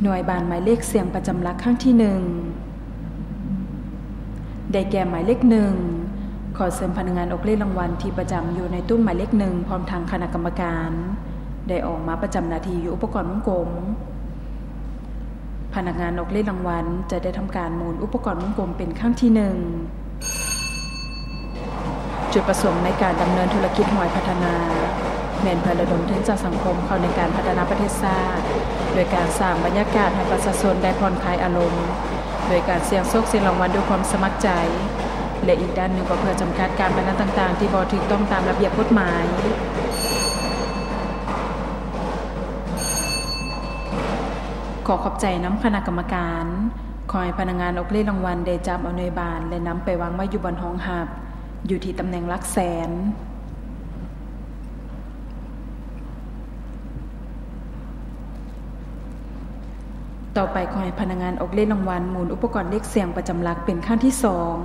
ໜ່ວຍບານໝາຍເລກສ່ຽງປະຈຳຫຼັກຄັ້ງທີໜຶ່ງ ໄດ້ແກ່ໝາຍເລກໜຶ່ງ. ຂໍເຊີນພະນັກງານອອກເລກລາງວັນທີ່ປະຈຳຢູ່ໃນຕຸ້ມໝາຍເລກໜຶ່ງ ພ້ອມທັງຄະນະກຳມະການ ໄດ້ອອກມາປະຈຳໜ້າທີ່ຢູ່ອຸປະກອນວົງກົມ. ພະນັກງານອອກເລກລາງວັນຈະໄດ້ທຳການໝູນອຸປະກອນວົງກົມເປັນຄັ້ງທີໜຶ່ງ. ຈຸດປະສົງໃນການດຳເນີນທຸລະກິດຫວຍພັດທະນາ ແມ່ນເພື່ອລະດົມທຶນຈາກສັງຄົມເຂົ້າໃນການພັດທະນາປະເທດຊາດ ໂດຍການສ້າງບັນຍາກາດໃຫ້ປະຊາຊົນໄດ້ຜ່ອນຄາຍອາລົມ ໂດຍການສ່ຽງໂຊກສ່ຽງລາງວັນດ້ວຍຄວາມສະໝັກໃຈ ແລະ ອີກດ້ານໜຶ່ງກໍເພື່ອຈຳກັດການພະນັນຕ່າງໆທີ່ບໍ່ຖືກຕ້ອງຕາມລະບຽບກົດໝາຍ. ຂໍຂອບໃຈນຳຄະນະກຳມະການ. ຂໍໃຫ້ພະນັກງານອອກເລກລາງວັນໄດ້ຈັບເອົາໜ່ວຍບານ ແລະ ນຳໄປວາງໄວ້ຢູ່ບ່ອນຮອງຮັບ ຢູ່ທີ່ຕຳແໜ່ງຫຼັກແສນ. ຕໍ່ໄປ ຂໍໃຫ້ພະນັກງານອອກເລກລາງວັນໝູນອຸປະກອນເລກສ່ຽງປະຈຳຫຼັກເປັນຄັ້ງທີສອງ.